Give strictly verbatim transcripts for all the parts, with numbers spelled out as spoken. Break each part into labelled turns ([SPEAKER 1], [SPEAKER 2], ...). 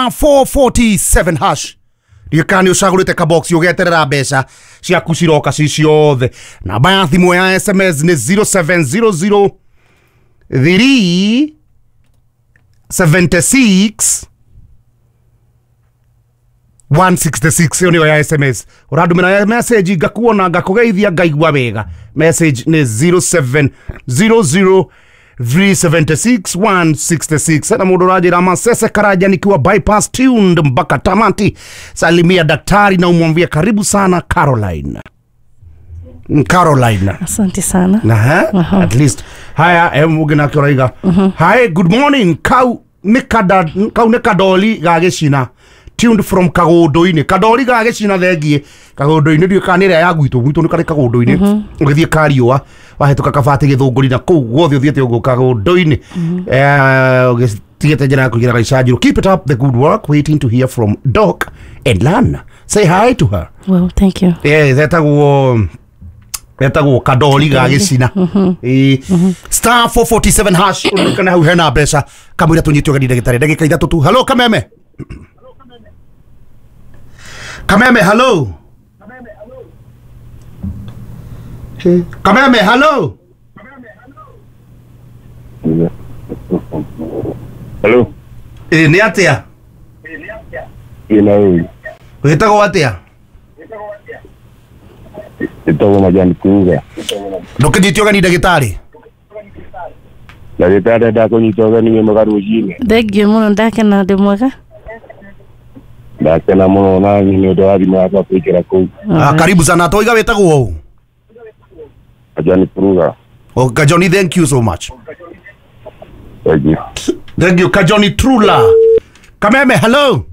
[SPEAKER 1] Star four forty-seven hash. Ndiũĩ nĩ ũcagũrĩte kabox ũgeterera mbeca ciaku ciroka ci ciothe. Namba ya thimũ ya S M S nĩ zero seven zero zero three seventy-six one sixty-six. Ĩyo nĩyo ya S M S. Ũrandũmĩra message ngakuona ngakũgeithia ngaigua wega. Message nĩ zero seven zero zero three seventy-six one sixty-six. Na mundu rajira Masese Karanja nikiwa bypass tuned mpaka tamati. Salimia daktari na umwambie karibu sana Caroline. Caroline.
[SPEAKER 2] Asante sana.
[SPEAKER 1] Aha. Uh-huh. At least. Haya em ugina kiraiga. Uh-huh. Hi, good morning. Kau nikada kau nikadoli gagicina. Tuned from Kagodoini. Kadoli gagicina thengie. Kagodoini ndio kanira ya gwitũ gwitũ nĩ karĩ Kagodoini. Ũgĩthiĩ Kariũa wahĩtũka Kabati Gĩthũngũri na kũu guothe ũthiĩte ũguo Kagodoini. Eh ũgĩtigĩte njĩra ya kũingĩra Gaicanjirũ. Keep it up the good work, waiting to hear from Doc and Lan. Say hi to her.
[SPEAKER 2] Well, thank you.
[SPEAKER 1] Eh etagwo etagwo Kadoli gagicina. Eh star four forty-seven hash ũrikana hau hena mbeca kamũira tũnyite ũgeni ndagĩtarĩ ndagĩka ithatũ tu. Hello Kameme. Kameme, hello. Kameme, hello.
[SPEAKER 3] Hello.
[SPEAKER 1] Eh, ni atia?
[SPEAKER 3] Ina wewe.
[SPEAKER 1] Wetagwo atia?
[SPEAKER 3] Etagwo Majani Kuuga.
[SPEAKER 1] Ndũkĩnyite ũgeni ndagĩtarĩ?
[SPEAKER 3] Ndagĩtarĩ ndakũnyita ũgeni wĩ mwega rũcinĩ.
[SPEAKER 2] Thengiũ mũno, ndakena ndĩ mwega.
[SPEAKER 3] Ndakena mũno na nĩ ũndũ wa thimũ yakwa kũingĩra kũu.
[SPEAKER 1] Ah, karibu sana. Toiga wetagwo ũũ?
[SPEAKER 3] Kajoni Truga.
[SPEAKER 1] Oh, Kajoni, thank you so much.
[SPEAKER 3] Thank you.
[SPEAKER 1] Thank you, Kajoni Trula. Kameme, hello.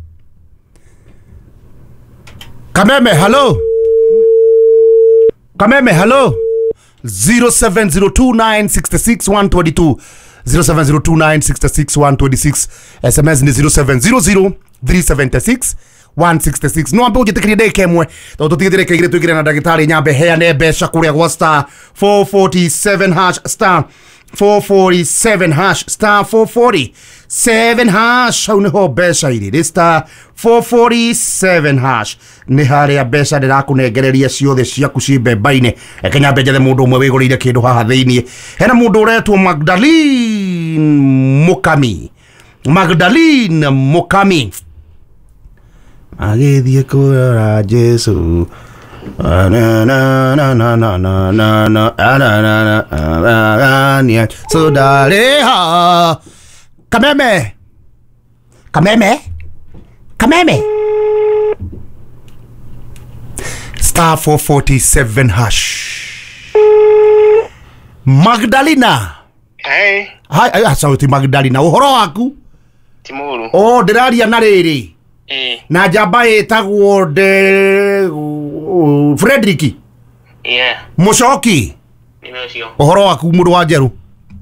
[SPEAKER 1] Kameme, hello. Kameme, hello. zero seven zero two nine six six one two two. zero seven zero two nine six six one two six. S M S ni zero seven zero zero three seven six one six six. No ambe ũnjĩtĩkĩrie ndagĩka ĩmwe tondũ tũtigĩte ndagĩka igĩrĩ tũingĩre na ndagĩtarĩ nyambe heane mbeca kũrĩa gwa star four forty-seven hash star four forty-seven hash star four forty-seven hash. Hau nĩho mbeca irĩ nĩ star four forty-seven hash nĩ harĩa mbeca ndĩrakũnengereria ciothe ciaku ci mbemba-inĩ. Reke nyambe njethe mũndũ ũmwe wĩgũrĩire kĩndũ haha thĩiniĩ. Hena mũndũ ũretwo Magdalene Mukami. Magdalene Mukami agĩthiĩ kũrora Jesu. Na na na na na na na na na na na na so daleha. Kameme. Kameme. Kameme. Star four forty-seven hash. Magdalena.
[SPEAKER 4] Hey.
[SPEAKER 1] Hi, hi, sauti Magdalena. Ũhoro waku?
[SPEAKER 4] Ti mũũru.
[SPEAKER 1] Oh, ndĩraria na rĩrĩ.
[SPEAKER 4] Eh.
[SPEAKER 1] Na njamba ĩtagwo de Frederick.
[SPEAKER 4] Yeah.
[SPEAKER 1] Mũcoki.
[SPEAKER 4] Nĩ ũcio.
[SPEAKER 1] Ũhoro waku mũndũ wa Njerũ?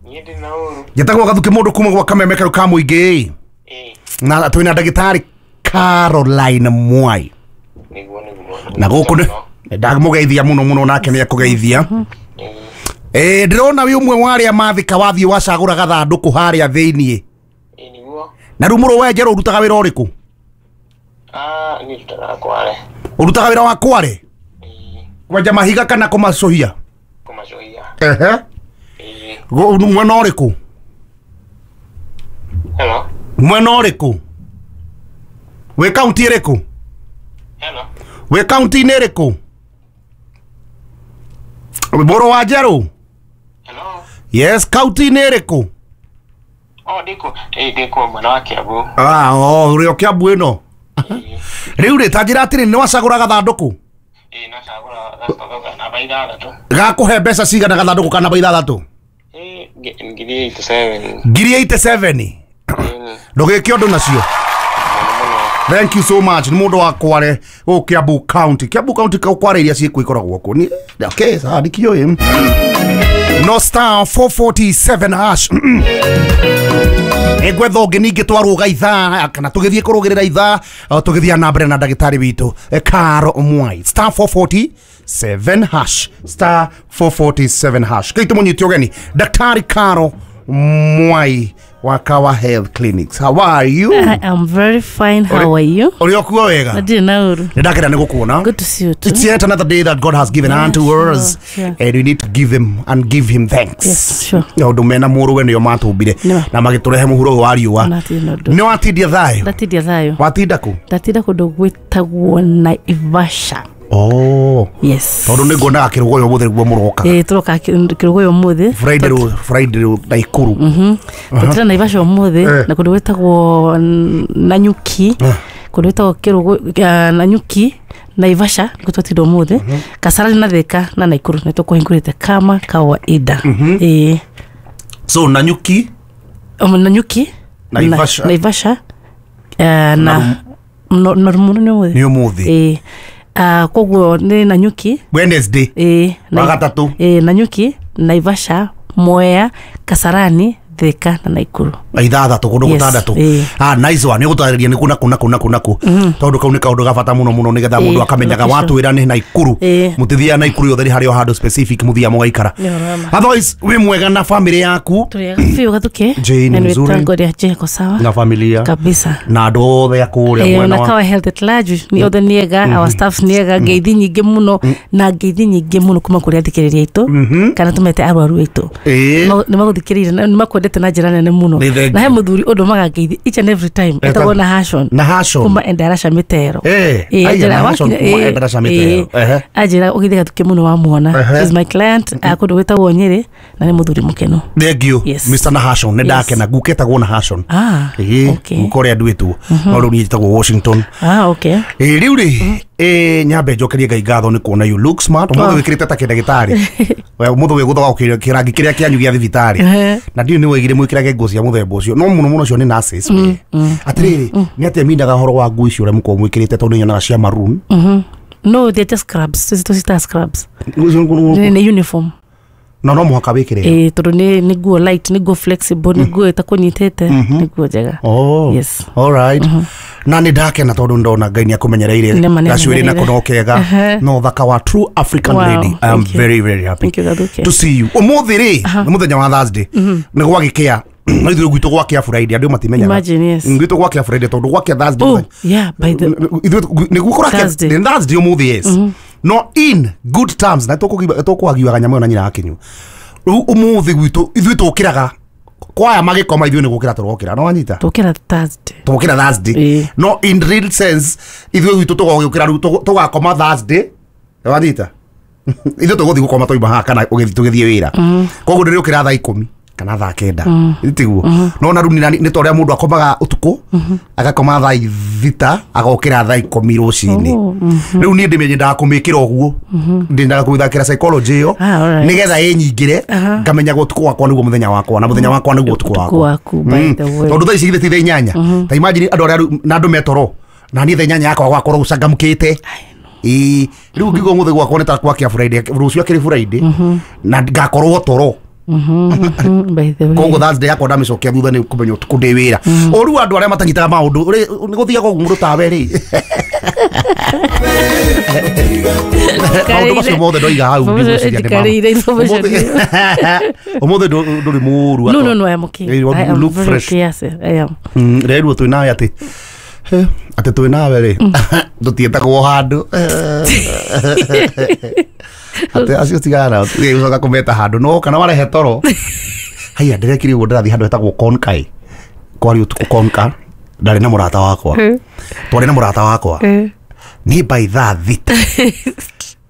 [SPEAKER 4] Niĩ ndĩ na ũru.
[SPEAKER 1] Njĩtagwo Gathuki mũndũ kuma gwa Kameme karũ ka mũingĩ.
[SPEAKER 4] Eh.
[SPEAKER 1] Na twĩna ndagĩtarĩ Caroline Mwai.
[SPEAKER 4] Nĩguo nĩguo.
[SPEAKER 1] Na gũkũ nĩ ndamũgeithia mũno mũno nake nĩ ekũgeithia. Eh, ndĩrona wĩ ũmwe wa arĩa mathika wathiĩ wacagũra gathandũkũ harĩa thĩiniĩ.
[SPEAKER 4] Eh, nĩguo.
[SPEAKER 1] Na rĩu mũrũ wa Njerũ ũrutaga wĩra ũrĩkũ?
[SPEAKER 4] Ah, niĩ ndutaga kware.
[SPEAKER 1] Ũrutaga wĩra wa kware?
[SPEAKER 4] Eh.
[SPEAKER 1] Kwenja mahiga kana kũmacũhia?
[SPEAKER 4] Kũmacũhia.
[SPEAKER 1] Ehe.
[SPEAKER 4] Eh.
[SPEAKER 1] Mwena ũrĩkũ?
[SPEAKER 4] Hello.
[SPEAKER 1] Mwena ũrĩkũ? Wĩ kaunti ĩrĩkũ?
[SPEAKER 4] Hello.
[SPEAKER 1] Wĩ kaunti-inĩ ĩrĩkũ? Mũrũ wa Njerũ?
[SPEAKER 4] Hello.
[SPEAKER 1] Yes, kaunti-inĩ ĩrĩkũ?
[SPEAKER 4] Oh, ndĩkũ. Eh, ndĩkũ mwena wa Kiambu.
[SPEAKER 1] Ah, oh, ũrĩ o Kiambu ĩno. Rĩu rĩ ta njĩra atĩrĩ nĩ wacagũra gathandũkũ?
[SPEAKER 4] Ĩĩ nacagũra gathandũkũ namba ithathatũ.
[SPEAKER 1] Gakũhe mbeca cigana gathandũkũ ka namba ithathatũ?
[SPEAKER 4] Ĩĩ ngiri eighty-seven.
[SPEAKER 1] Ngiri eighty-seven? Ndũgĩke ũndũ nacio. Thank you so much. Nĩ mũndũ wa Kware gũkũ Kiambu County. Kiambu County Kware iria ciĩkuo ikoragwo kuo. Ni okay, sawa ndikĩũĩ. No star four forty-seven hash. Egwetha ũngĩ ningĩ twarũga ithaa kana tũgĩthiĩ kũrũgĩrĩra ithaa tũgĩthiĩ na mbere na ndagĩtarĩ witũ Caro Mwai. Star four forty-seven hash. Star four forty-seven hash. Kĩitũ mũnyite ũgeni Daktari Caro Mwai wa Kawa Health Clinics. How are you?
[SPEAKER 2] I am very fine. How are you?
[SPEAKER 1] Uri okuo wega?
[SPEAKER 2] Ndirĩ na ũru.
[SPEAKER 1] Nĩ ndakena nĩ gũkuona.
[SPEAKER 2] Good to see you too.
[SPEAKER 1] It's yet another day that God has given
[SPEAKER 2] Yeah,
[SPEAKER 1] unto
[SPEAKER 2] sure,
[SPEAKER 1] us,
[SPEAKER 2] sure.
[SPEAKER 1] and we need to give him and give him thanks.
[SPEAKER 2] Yes, sure.
[SPEAKER 1] Maũndũ mena mũrũwe nĩo matũmbire
[SPEAKER 2] Nĩma.
[SPEAKER 1] na magĩtũrehe mũhuro ũyũ wa riũa.
[SPEAKER 2] Natirĩ na ũndũ.
[SPEAKER 1] Nĩ watindia thayũ?
[SPEAKER 2] Ndatindia thayũ.
[SPEAKER 1] Watinda kũ?
[SPEAKER 2] Ndatinda kũndũ gwĩtagwo Naivasha.
[SPEAKER 1] Oh.
[SPEAKER 2] Yes.
[SPEAKER 1] Tondũ nĩ nguonaga kĩrũgũyũ ũmũthĩ nĩguo mũrokaga.
[SPEAKER 2] Ĩĩ tũroka kĩrũgũyũ ũmũthĩ.
[SPEAKER 1] Friday rũ Friday rũ Naikuru.
[SPEAKER 2] Mhm. Tũtira Naivasha ũmũthĩ
[SPEAKER 1] Eh.
[SPEAKER 2] na kũndũ gwĩtagwo Nanyuki. Kũndũ gwĩtagwo kĩrũgũ Nanyuki Naivasha nĩkuo twatinda ũmũthĩ. Kasarani na Thika na Naikuru nĩ tũkũhingũrĩte kama kawaida. Ĩĩ.
[SPEAKER 1] So Nanyuki,
[SPEAKER 2] Um, Nanyuki,
[SPEAKER 1] Naivasha.
[SPEAKER 2] na, Naivasha uh, na no na Rumu nĩ ũmũthĩ.
[SPEAKER 1] Nĩ ũmũthĩ.
[SPEAKER 2] Ĩĩ. Uh, koguo nĩ Nanyuki.
[SPEAKER 1] Wednesday.
[SPEAKER 2] Ĩĩ. Na-
[SPEAKER 1] Wagatatũ.
[SPEAKER 2] Ĩĩ, Nanyuki, Naivasha, Mwea, Kasarani, Thika na Naikuru.
[SPEAKER 1] Ithathatũ kũndũ
[SPEAKER 2] Yes,
[SPEAKER 1] gũtandatũ.
[SPEAKER 2] ĩĩ.
[SPEAKER 1] Ah, nice one. Nĩ gũtarĩria nĩ kũ na kũ na kũ na kũ na kũ. Tondũ kau nĩ kaũndũ ga bata mũno mũno nĩgetha mũndũ
[SPEAKER 2] Ĩĩ,
[SPEAKER 1] akamenyaga
[SPEAKER 2] location.
[SPEAKER 1] watwĩra nĩ Naikuru.
[SPEAKER 2] Ĩĩ.
[SPEAKER 1] Mũtithiaga Naikuru yothe nĩ harĩ o handũ specific mũthiaga mũgaikara.
[SPEAKER 2] Nĩ ũhoro wa ma.
[SPEAKER 1] Otherwise wĩ mwega na family yaku
[SPEAKER 2] Tũrĩ ega biũ Gathuke.
[SPEAKER 1] Jane
[SPEAKER 2] Na nĩ
[SPEAKER 1] mzuri.
[SPEAKER 2] wĩtango rĩa Jane ako sawa.
[SPEAKER 1] Na familia
[SPEAKER 2] Kabisa.
[SPEAKER 1] na andũ othe a kũrĩa
[SPEAKER 2] Ĩĩ,
[SPEAKER 1] mwena
[SPEAKER 2] na
[SPEAKER 1] wa
[SPEAKER 2] Kawa Health at large nĩ othe nĩ ega, our staffs nĩ ega, ngeithi nyingĩ mũno na ngeithi nyingĩ mũno kuma kũrĩ athikĩrĩria aitũ kana tũmete arwaru aitũ.
[SPEAKER 1] Ĩĩ.
[SPEAKER 2] Nĩ magũthikĩrĩirie na nĩ makwendete na njĩra nene mũno.
[SPEAKER 1] Nĩ thank
[SPEAKER 2] Na he
[SPEAKER 1] you.
[SPEAKER 2] mũthuri ũndũmaga ngeithi each and every time etagwo na Hashon
[SPEAKER 1] Na Hashon.
[SPEAKER 2] kuma Endarasha Mĩtero.
[SPEAKER 1] Eh,
[SPEAKER 2] Ĩĩ,
[SPEAKER 1] aya,
[SPEAKER 2] anjĩra
[SPEAKER 1] na Hashon
[SPEAKER 2] wakinya-
[SPEAKER 1] kuma
[SPEAKER 2] ĩĩ,
[SPEAKER 1] Endarasha Mĩtero.
[SPEAKER 2] ĩĩ.
[SPEAKER 1] Ehe.
[SPEAKER 2] Anjĩra ũgĩthiĩ Gathuke mũno wamuona.
[SPEAKER 1] Ehe.
[SPEAKER 2] He's my client a kũndũ gwĩtagwo Nyĩrĩ na nĩ mũthuri mũkenu.
[SPEAKER 1] Thank you.
[SPEAKER 2] Yes.
[SPEAKER 1] Mister Nahashon nĩ
[SPEAKER 2] Yes.
[SPEAKER 1] ndakena guka etagwo Nahashon.
[SPEAKER 2] Ah,
[SPEAKER 1] Ĩĩ,
[SPEAKER 2] okay.
[SPEAKER 1] guka ũrĩa nduĩtwo no rĩu niĩ njĩtagwo Washington.
[SPEAKER 2] Ah, okay.
[SPEAKER 1] Ĩĩ, rĩu rĩ ĩ nyambe njokerie Ngai ngatho nĩ kuona you look smart. Ũmũthĩ
[SPEAKER 2] Oh.
[SPEAKER 1] wĩkĩrĩte ta kĩndagĩtarĩ. We ũmũthĩ wĩgũthoga kĩrangi kĩrĩa kĩanyu gĩa thibitarĩ.
[SPEAKER 2] Ehe.
[SPEAKER 1] Na ndiũĩ nĩ woigire mwĩkĩrage nguo cia mũthemba ũcio no mũno mũno cio nĩ nurses we. Atĩrĩrĩ nĩ atĩa mindaga ũhoro wa nguo icio ũrĩa mũkoragwo mwĩkĩrĩte tondũ nĩ nyonaga cia maroon.
[SPEAKER 2] Mhm. No, they're just scrubs. Tũci tũcitaga scrubs.
[SPEAKER 1] Nguo icio
[SPEAKER 2] Nĩ nĩ uniform.
[SPEAKER 1] No no mũhaka wĩkĩre ĩyo.
[SPEAKER 2] Ĩĩ, tondũ nĩ nĩ nguo light, nĩ nguo flexible, nĩ nguo ĩtakũnyitĩte, nĩ nguo njega.
[SPEAKER 1] Oh.
[SPEAKER 2] Yes.
[SPEAKER 1] All right. Na nĩ ndakena tondũ ndona Ngai nĩ akũmenyereire
[SPEAKER 2] Nĩ ma nĩ
[SPEAKER 1] gacuĩrĩ nako
[SPEAKER 2] amenyereire.
[SPEAKER 1] no kega
[SPEAKER 2] Ehe.
[SPEAKER 1] no thaka wa true African
[SPEAKER 2] Wow,
[SPEAKER 1] lady. I am
[SPEAKER 2] thank you.
[SPEAKER 1] very very happy
[SPEAKER 2] Thank you, Gathuke.
[SPEAKER 1] to see you. Ũmũthĩ rĩ nĩ mũthenya wa Thursday nĩ gwagĩkĩa no ithuĩ gwitũ gwakĩa Friday andũ matimenyaga.
[SPEAKER 2] Imagine, yes.
[SPEAKER 1] Gwitũ gwakĩa Friday tondũ gwakĩa Thursday
[SPEAKER 2] Oh,
[SPEAKER 1] mũthenya-
[SPEAKER 2] yeah, by the
[SPEAKER 1] ithuĩ nĩguo kũrakĩa
[SPEAKER 2] Thursday.
[SPEAKER 1] nĩ Thursday ũmũthĩ, yes, no in good terms na tũkũhagiwaga nyama ĩyo na nyina akinyu rĩu ũmũthĩ gwitũ ithuĩ tũkĩraga kwaya magĩkoma ithuĩ nĩ gũkĩra tũrokĩra no wanyita
[SPEAKER 2] tũkĩra Thursday.
[SPEAKER 1] tũgũkĩra Thursday.
[SPEAKER 2] Ĩĩ.
[SPEAKER 1] No in real sense ithuĩ gwitũ tũgagĩũkĩra rĩu tũgũ- tũgakoma Thursday wanyita ithuĩ tũgũthiĩ gũkoma twauma haha kana ũgĩthiĩ tũgĩthiĩ wĩra koguo ndĩrĩũkĩra thaa ikũmi kana thaa kenda tiguo no na rĩu nĩ nĩ ta ũrĩa mũndũ akomaga ũtukũ agakoma thaa thita agokĩra thaa ikũmi rũcinĩ.
[SPEAKER 2] Oh, mhm.
[SPEAKER 1] Rĩu niĩ ndĩmenyendaga kũmĩkĩra ũguo ndĩendaga kũmĩthakĩra psychology ĩyo
[SPEAKER 2] Ah, alright.
[SPEAKER 1] nĩgetha ĩnyingĩre ngamenyaga ũtukũ wakwa nĩguo mũthenya wakwa na mũthenya wakwa nĩguo ũtukũ
[SPEAKER 2] Ũtukũ
[SPEAKER 1] wakwa.
[SPEAKER 2] waku, by the way.
[SPEAKER 1] Tondũ thaa ici githĩ ti thaa inyanya ta imagine andũ arĩa rĩu- na andũ metoro na niĩ thaa inyanya yakwa gwakorwo gũcangamũkĩte. Ĩĩ rĩu ngiuga ũmũthĩ gwakwa nĩ ta gwakĩa Friday rũciũ akĩrĩ Friday na ngakorwo toro.
[SPEAKER 2] Mhm, by the way.
[SPEAKER 1] Koguo Thursday yakwa ndamĩcokia thutha nĩ kũmenya ũtukũ ndĩ wĩra o rĩu andũ arĩa matanyitaga maũndũ nĩ gũthiaga ũguo mũndũ tawe rĩ maũndũ macio mothe ndoiga hau ndigwĩciria nĩ ma-
[SPEAKER 2] Njikarĩire information
[SPEAKER 1] Ũmũthĩ- ũmũthĩ ndũ- ndũrĩ mũũru.
[SPEAKER 2] No, no, no, I am okay.
[SPEAKER 1] Eh, you
[SPEAKER 2] I am
[SPEAKER 1] look
[SPEAKER 2] very
[SPEAKER 1] fresh.
[SPEAKER 2] okay, yes, I am.
[SPEAKER 1] Mm, rerwo twĩ nawe atĩ eh, atĩ twĩ nawe rĩ tũtiĩtagwo handũ atĩ acio tigana nao ũcoka kũmeta handũ no kana warehe toro haiya ndĩrekire ũguo ndĩrathiĩ handũ hetagwo Konkai kwari ũtukũ Konka ndarĩ na mũrata wakwa twarĩ na mũrata wakwa
[SPEAKER 2] Eh.
[SPEAKER 1] nĩ by thaa thita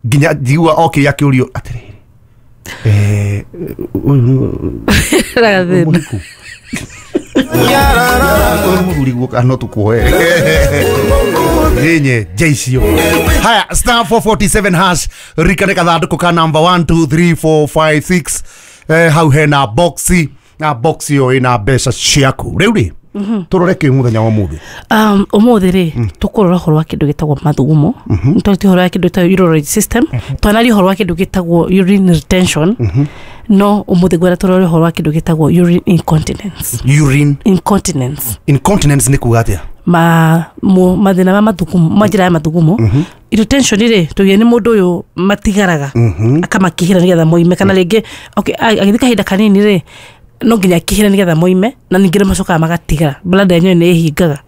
[SPEAKER 1] nginya njigua okire akĩũrio atĩrĩrĩ eh, ũyũ
[SPEAKER 2] Ragathĩna.
[SPEAKER 1] mũhiku ũyũ mũthuri guoka no tũkuoe nyenye nje icio. Haya, star four forty-seven hash rikane kathandũkũ ka number one two three four five six eh, hau hena boxi na boxi ĩyo ĩna mbeca ciaku rĩu rĩ tũrore kĩ mũthenya wa ũmũthĩ.
[SPEAKER 2] Um, ũmũthĩ rĩ tũkũrora ũhoro wa kĩndũ gĩtagwo mathugumo nĩtwarĩtie ũhoro wa kĩndũ gĩtagwo urology system twanaria ũhoro wa kĩndũ gĩtagwo urine retention no ũmũthĩ ngwenda tũrore ũhoro wa kĩndũ gĩtagwo urine incontinence.
[SPEAKER 1] Urine
[SPEAKER 2] incontinence.
[SPEAKER 1] Incontinence nĩ kuga atĩa?
[SPEAKER 2] Ma mu, mathĩna ma mathugumo ma njĩra ya mathugumo. Retention rĩ tuge nĩ mũndũ ũyũ matigaraga akamakihĩra nĩgetha moime kana rĩngĩ okay, a- agĩthiĩ kahinda kanini rĩ No nginya kihira nigetha moime na ningĩ macokaga magatigara bladder yenyewe nĩ ĩhingaga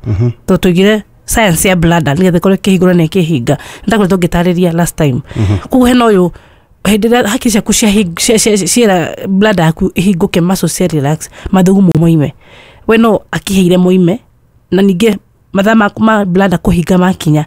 [SPEAKER 2] tondũ tuigire science ya bladder nigetha ĩkorwo ĩkĩhingũra na ĩkĩhinga ndakoretwo ngĩtarĩria last time. Koguo hena ũyũ hĩndĩ ĩrĩa hakiri ciaku ciera bladder yaku ĩhingũke, muscles cia relax, mathugumo moime, we no akĩhĩire moime na ningĩ mathaa ma, ma bladder kũhinga makinya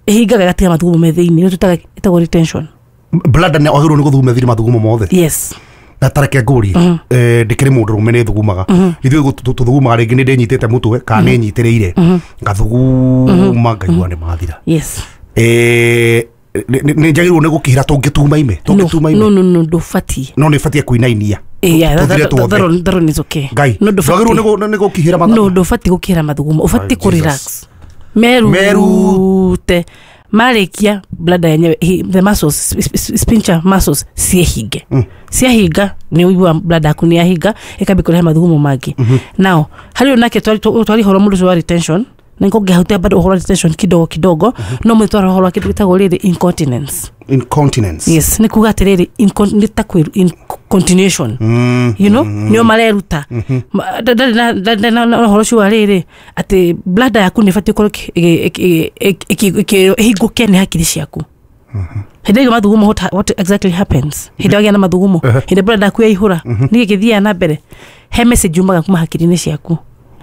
[SPEAKER 2] ĩhingaga ĩgatiga mathugumo me thĩinĩ, nĩ tũtaga ĩtagwo retention.
[SPEAKER 1] Bladder nĩ wagĩrĩirwo nĩ gũthuguma thiri mathugumo mothe?
[SPEAKER 2] Yes.
[SPEAKER 1] Na tareke ngũrie, eh, ndĩkĩrĩ mũndũ rũme nĩ thugumaga, ithuĩ tũthugumaga rĩngĩ nĩ ndĩnyitĩte mũtwe kana nĩ nyitĩrĩire ngathuguma ngaigua nĩ mathira.
[SPEAKER 2] Yes.
[SPEAKER 1] Eh, nĩ njagĩrĩirwo nĩ gũkĩhĩra tũngĩtuma ime tũngĩtuma ime?
[SPEAKER 2] No, no, no, ndũbatiĩ.
[SPEAKER 1] No nĩ batiĩ kũinainia?
[SPEAKER 2] Yeah, that, that, that, that one is okay.
[SPEAKER 1] Ngai
[SPEAKER 2] no
[SPEAKER 1] ndwagĩrĩirwo nĩ gũkĩhĩra
[SPEAKER 2] mathugumo? No, ndũbatiĩ gũkĩhĩra mathugumo, ũbatiĩ kũ relax merute marĩkia bladder yenyewe, the muscles, sphincter muscles ciĩhinge. mm. Ciahinga nĩ ũigua bladder yaku nĩ yahinga ĩkambia kũrehe mathugumo mangĩ. mm -hmm. Now harĩ nake twari horo mũndũ ũcio wa retention na nĩkũngĩhutia bado ũhoro wa retention kidogo kidogo. mm -hmm. No mwĩtwara ũhoro wa kĩndũ gĩtagwo rĩrĩ incontinence.
[SPEAKER 1] Incontinence.
[SPEAKER 2] Yes, nĩ kuga atĩrĩrĩ nĩ ta kwĩ continuation, mm, you know, mm, nĩo mareruta ndarĩ na ũhoro ũcio wa rĩrĩ atĩ bladder yaku nĩ ĩbatiĩ gũkorwo ĩhingũke nĩ hakiri ciaku. Hĩndĩ ĩyo mathugumo, what, what exactly happens hĩndĩ wagĩa na mathugumo, hĩndĩ bladder yaku yaihũra nĩkĩ gĩthiaga na mbere? He message yumaga kuma hakiri-inĩ ciaku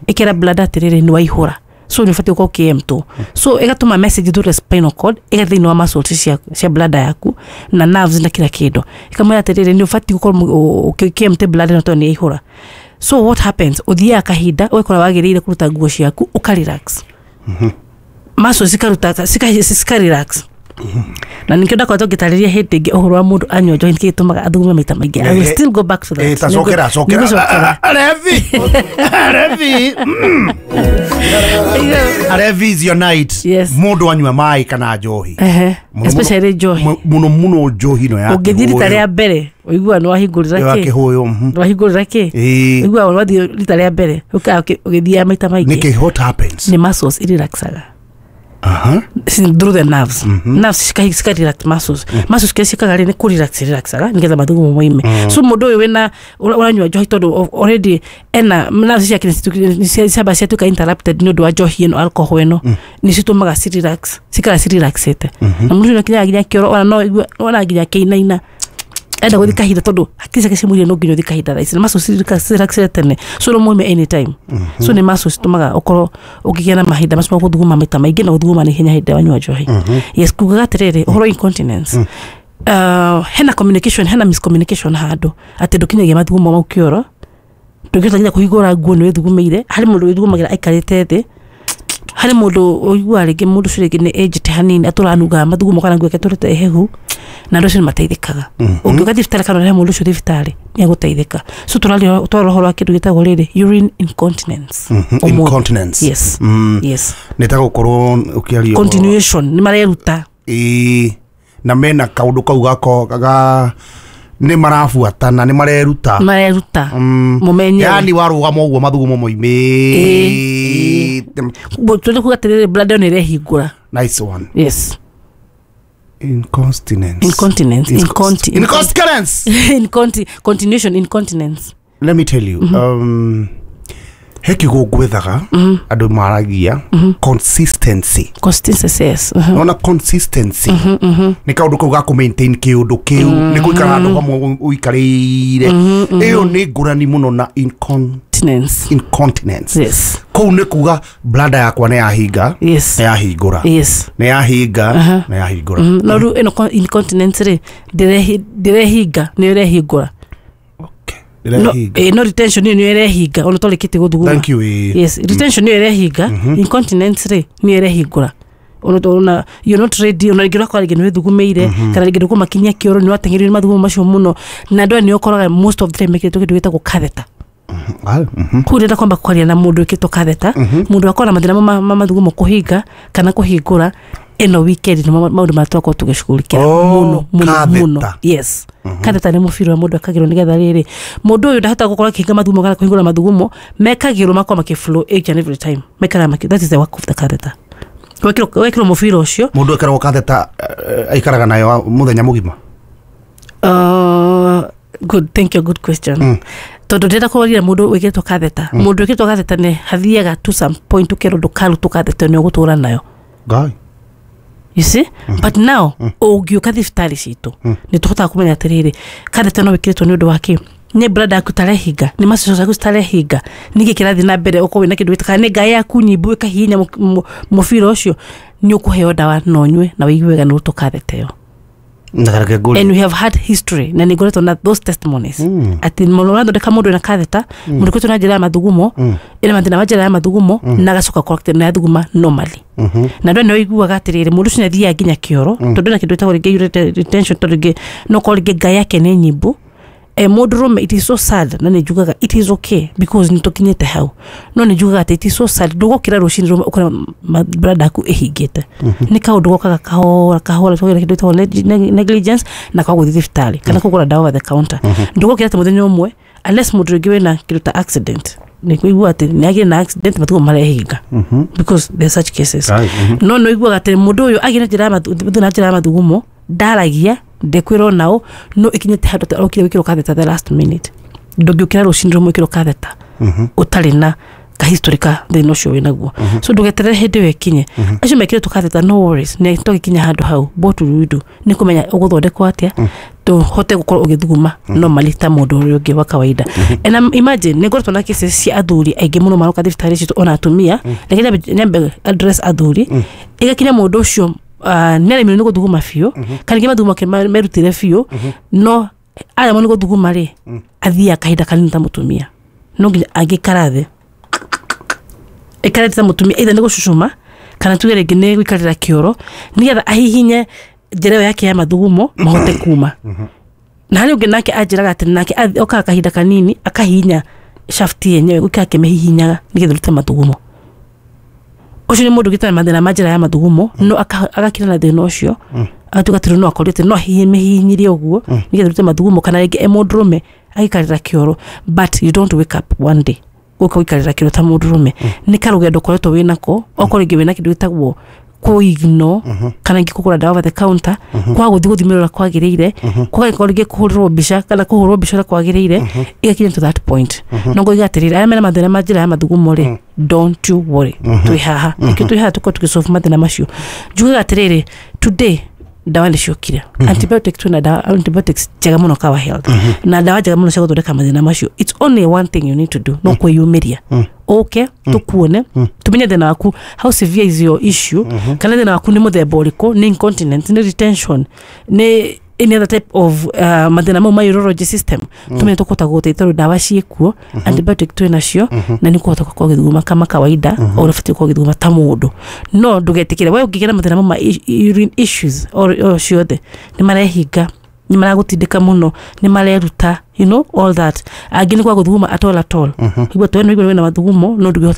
[SPEAKER 2] ĩkera bladder atĩrĩrĩ nĩ waihũra, so nĩ ũbatiĩ gũkorwo ũkĩ-empty, so ĩgatũma message through the spinal cord ĩgathiĩ thĩinĩ wa muscles cia cia bladder yaku na nerves na kila kĩndũ, ĩkamwĩra atĩrĩrĩ nĩ ũbatiĩ gũkorwo ũkĩ-empty bladder ĩno tondũ nĩ yaihũra. So what happens, ũthiaga kahinda ũgakora wagĩrĩire kũruta nguo ciaku ũka relax, muscles cikaruta cika relax. Na nikio ndakoretwo ngĩtarĩria hĩndĩ ĩngĩ ũhoro wa mũndũ anyua njohi nĩkĩ gĩtũmaga athugume maita maingĩ. I will still go back to that.
[SPEAKER 1] Eh, ta cokera cokera arevi arevi arevi is your night.
[SPEAKER 2] Yes.
[SPEAKER 1] Mũndũ anyua maĩ kana njohi,
[SPEAKER 2] especially njohi
[SPEAKER 1] mũno mũno njohi no ya
[SPEAKER 2] ũngĩthiĩ rita rĩa mbere ũigua nĩ wahingũrĩra kĩ
[SPEAKER 1] kĩhũyũ,
[SPEAKER 2] nĩ wahingũrĩra kĩ, ũigua wathiĩ rita rĩa mbere ũgĩthiaga maita maingĩ.
[SPEAKER 1] Nĩkĩ, what happens?
[SPEAKER 2] Nĩ muscles irelaxaga.
[SPEAKER 1] Uh-huh.
[SPEAKER 2] Through the nerves.
[SPEAKER 1] Mm -hmm.
[SPEAKER 2] Nerves cika cika relax muscles.
[SPEAKER 1] Mm.
[SPEAKER 2] Muscles kĩrĩa ciĩkaga rĩ nĩ kũ relax relaxaga nĩgetha mathugumo moime.
[SPEAKER 1] Mm.
[SPEAKER 2] So mũndũ ũyũ wĩna ũranyua njohi tondũ already ena nerves ciake nĩ ciamba ciatuĩka interrupted nĩ ũndũ wa njohi ĩno, alcohol ĩno,
[SPEAKER 1] Mm.
[SPEAKER 2] nĩ citũmaga ci relax, cikara ci relaxĩte.
[SPEAKER 1] Mm -hmm.
[SPEAKER 2] Na mũndũ ũcio nĩakinyaga nginya kĩoro ona no ona nginya kĩinaina enda gũthiĩ kahinda tondũ hakiri ciake cimwĩrire no nginya ũthiĩ kahinda thaa ici na muscles cirelaxire tene, so no moime anytime. So nĩ muscles citũmaga ũkorwo ũkĩgĩa na mahinda macio ma gũthuguma maita maingĩ na gũthuguma na ihenya hĩndĩ ĩrĩa wanyua njohi. Yes, kugaga atĩrĩrĩ ũhoro incontinence, uh, hena communication, hena miscommunication handũ atĩ ndũkinyagia mathugumo mau kĩoro, ndũngĩhota nginya kũhingũra nguo nĩ wĩthugumĩire. Harĩ mũndũ wĩthugumagĩra aikarĩte thĩ, harĩ mũndũ ũiguaga rĩngĩ mũndũ ũcio rĩngĩ nĩ aged hanini atũranungaga mathugumo kana nguo yake ĩtũrĩte ĩhehu, na andũ acio nĩ mateithĩkaga. Ũngĩũka thibitarĩ kana ũrehe mũndũ ũcio thibitarĩ nĩ egũteithĩka. So tũraria twarora ũhoro wa kĩndũ gĩtagwo rĩrĩ urine incontinence.
[SPEAKER 1] Incontinence.
[SPEAKER 2] Yes.
[SPEAKER 1] Mm.
[SPEAKER 2] Yes.
[SPEAKER 1] Nĩ ta gũkorwo ũkĩaria
[SPEAKER 2] continuation nĩ mareruta
[SPEAKER 1] ĩĩ na mena kaũndũ kau gako ga nĩ marabuatana nĩ mareruta
[SPEAKER 2] mareruta mũmenye
[SPEAKER 1] yani warũgama ũguo mathugumo moimĩte.
[SPEAKER 2] Tũrĩ kuga atĩrĩrĩ bladder nĩ ĩrehingũra.
[SPEAKER 1] Nice one.
[SPEAKER 2] Yes.
[SPEAKER 1] Incontinence.
[SPEAKER 2] Incontinence. Inconti
[SPEAKER 1] Incontinence.
[SPEAKER 2] Inconti continuation incontinence.
[SPEAKER 1] Let me tell you.
[SPEAKER 2] Mm -hmm.
[SPEAKER 1] Um he kiugo ngwethaga andũ maragia consistency.
[SPEAKER 2] Consistency, yes. Uh -huh.
[SPEAKER 1] Nona consistency.
[SPEAKER 2] Mm -hmm, mm -hmm.
[SPEAKER 1] Nĩ kaũndũ kau ga kũ maintain kĩũndũ kĩu nĩ gũikara handũ hamwe ũikarĩire. Ĩyo nĩ ngũrani mũno na
[SPEAKER 2] incontinence.
[SPEAKER 1] Incontinence.
[SPEAKER 2] Yes.
[SPEAKER 1] Kũu nĩ kuga bladder yakwa nĩ yahinga.
[SPEAKER 2] Yes.
[SPEAKER 1] Nĩ yahingũra.
[SPEAKER 2] Yes.
[SPEAKER 1] Nĩ yahinga, nĩ yahingũra.
[SPEAKER 2] No rĩu ĩno incontinence rĩ ndĩrehinga nĩ ĩrehingũra.
[SPEAKER 1] No,
[SPEAKER 2] eh, no retention nĩ ĩrehinga ona tũrĩkĩtie gũthuguma.
[SPEAKER 1] Thank you.
[SPEAKER 2] Yes, retention nĩ ĩrehinga, incontinence rĩ nĩ ĩrehingũra. Ona ona you're not ready, ona rĩngĩ ũrakora rĩngĩ nĩ wĩthugumĩire kana rĩngĩ ndũkũmakinyia kĩoro nĩ wateng'eririo nĩ mathugumo macio mũno na andũ aya nĩ ũkoraga most of the time mekĩrĩtwo kĩndũ gĩtagwo catheter. Kũu ndĩrenda kwamba kwaria na mũndũ wĩkĩtwo catheter, mũndũ akorwo na mathĩna ma mathugumo kũhinga kana kũhingũra ĩno weekend nĩ maũndũ marĩa tũrakorwo tũgĩcugurikĩra mũno mũno mũno. Yes. Catheter nĩ mũbira wa mũndũ ekagĩrwo nĩgetha rĩrĩ mũndũ ũyũ ndahota gũkorwo akĩhinga mathugumo kana kũhingũra mathugumo mekagĩrwo makorwo makĩ flow each and every time maikaraga makĩ, that is the work of the catheter. Wekĩrwo wekĩrwo mũbira ũcio
[SPEAKER 1] mũndũ ekĩragwo catheter aikaraga nayo mũthenya mũgima?
[SPEAKER 2] Uh, good, thank you, good question.
[SPEAKER 1] Mm.
[SPEAKER 2] Tondũ ndĩrenda kũrorire mũndũ wĩkĩrĩtwo katheta. Mũndũ wĩkĩrĩtwo katheta nĩ hathiaga to some point ũkerwo ndũkarutwo katheta, nĩ ũgũtũra nayo.
[SPEAKER 1] Ngai.
[SPEAKER 2] You see, but now ũngĩũka thibitarĩ citũ nĩ tũhotaga kũmenya atĩrĩrĩ, katheta no wĩkĩrĩtwo nĩ ũndũ wa kĩ? Nĩ bladder yaku tarehinga? Nĩ macicio ciaku citarehinga? Nĩkĩ kĩrathiĩ na mbere? Ũkorwo wĩna kĩndũ gĩta kana nĩ ngaĩ yaku nyimbu ĩkahihinya mũ- mũ- mũbira ũcio, nĩ ũkũheo ndawa na ũnyue na wĩigue wega nĩ ũrutwo katheta ĩyo.
[SPEAKER 1] Na kareke ngũrie.
[SPEAKER 2] And we have had history na nĩ ngoretwo na those testimonies atĩ mũno ũrathondeka mũndũ wĩna katheta, mũndũ ũkoretwo na njĩra ya mathugumo, ĩna mathĩna ma njĩra ya mathugumo, na agacoka corrected na yathuguma normally. Na andũ nĩ ũiguaga atĩrĩrĩ, mũndũ ũcio nĩ athiaga nginya kĩoro tondũ ena kĩndũ gĩtagwo rĩngĩ urine retention, tondũ rĩngĩ no korwo rĩngĩ ngai yake nĩ nyimbu. E mũndũ rũme, it is so sad, na nĩ njugaga it is okay because nĩ tũkinyĩte hau, no nĩ njugaga atĩ it is so sad ndũgokĩra rũcinĩ rũmwe ũkore brada yaku ĩhingĩte. Nĩ kaũndũ gokaga kahora kahora, tũgera kĩndũ gĩtagwo neg- neg- negligence na kwaga gũthiĩ thibitarĩ kana kũgũra ndawa over the counter. Ndũgokĩra atĩ mũthenya ũmwe, unless mũndũ rĩngĩ wĩna kĩndũ ta accident, nĩ kũigua atĩ nĩ agĩre na accident mathugumo marehinga, because there are such cases.
[SPEAKER 1] Ai, mhm.
[SPEAKER 2] No nĩ ũiguaga atĩ mũndũ ũyũ agĩre njĩra ya mathu- thĩna wa njĩra ya mathugumo, ndaragia, ndekwĩrwo nao, no ĩkinyĩte handũ atĩ arokire gwĩkĩrwo katheta the last minute. Ndũngĩũkĩra rũcinĩ rũmwe wĩkĩrwo katheta ũtarĩ na kahistory ka thĩna ũcio wĩnaguo. So ndũgeterere hĩndĩ ĩyo ĩkinye. Acio mekĩrĩtwo katheta, no worries, nĩ tũgĩkinya handũ hau, what will we do nĩ kũmenya ũgũthondekwo atĩa tũhote gũkorwo ũgĩthuguma normally ta mũndũ ũrĩa ũngĩ wa kawaida. And um, imagine nĩ ngoretwo na cases cia athuri aingĩ mũno maroka thibitarĩ citũ, ona atumia. Reke nyambe- nyambe address athuri. Ĩgakinya mũndũ ũcio uh, nĩ aremirwo nĩ gũthuguma biũ, kana ningĩ mathugumo make ma- merutire biũ, no aremwo nĩ gũthuguma rĩ, athiaga kahinda kanini ta mũtumia, no nginya angĩikara thĩ ĩkarĩte ta mũtumia, either nĩ gũcucuma kana tuge rĩngĩ nĩ gũikarĩra kĩoro, nĩgetha ahihinye njĩra ĩyo yake ya mathugumo mahote kuma. Na harĩ ũngĩ nake anjĩraga atĩ nake athi- okaga kahinda kanini akahihinya shaft yenyewe, gũikara akĩmĩhihinyaga nĩgetha ĩrute mathugumo. Ũcio nĩ mũndũ ũgĩte na mathĩna ma njĩra ya mathugumo, no aka- agakira na thĩna ũcio, agatuĩka atĩ rĩu no akorire atĩ no ahihinyire ũguo nĩgetha ĩrute mathugumo, kana rĩngĩ e mũndũrũme agĩikarĩra kĩoro. But you don't wake up one day gũka gũikarĩra kĩoro ta mũndũrũme. Nĩ karũgendo ũkoretwo wĩnako, okorwo rĩngĩ wĩna kĩndũ gĩtagwo kũigno, kana ingĩ kũgũra ndawa over the counter, kwaga gũthiĩ gũthimĩrwo ũrĩa kwagĩrĩire, kwaga rĩngĩ kũhũrĩrwo mbica kana kũhũrwo mbica ũrĩa kwagĩrĩire, ĩgakinya to that point. No ngoiga atĩrĩrĩ, arĩa mena mathĩna ma njĩra ya mathugumo rĩ, don't you worry, twĩ haha nĩkĩo twĩ haha tũkorwo tũgĩsolve mathĩna macio. Njugaga atĩrĩrĩ, today ndawa nĩ ciokire, antibiotic, twĩna ndawa antibiotics njega mũno Kawa Health, na ndawa njega mũno cia gũthondeka mathĩna macio. It's only one thing you need to do, no kwĩyumĩria ũke tũkuone, tumenye thĩna waku, how severe is your issue, kana thĩna waku nĩ mũthemba ũrĩkũ, nĩ incontinence, nĩ retention, nĩ any other type of uh, mathĩna mau ma urology system, tumenye tũkũhota gũgũteithia, tondũ ndawa ciĩkuo, antibiotic twĩ nacio, na nĩ ũkũhota gũkorwo ũgĩthuguma kama kawaida o ũrĩa ũbatiĩ gũkorwo ũgĩthuguma ta mũndũ. No ndũgetĩkĩre we ũngĩgĩa na mathĩna mau ma i- urine issues o o ciothe, nĩ marehinga, nĩ maragũtindĩka mũno, nĩ mareruta, you know all that. Angĩ nĩ kwaga gũthuguma at all at all. Igua twena igua wĩna mathugumo no ndũngĩhota.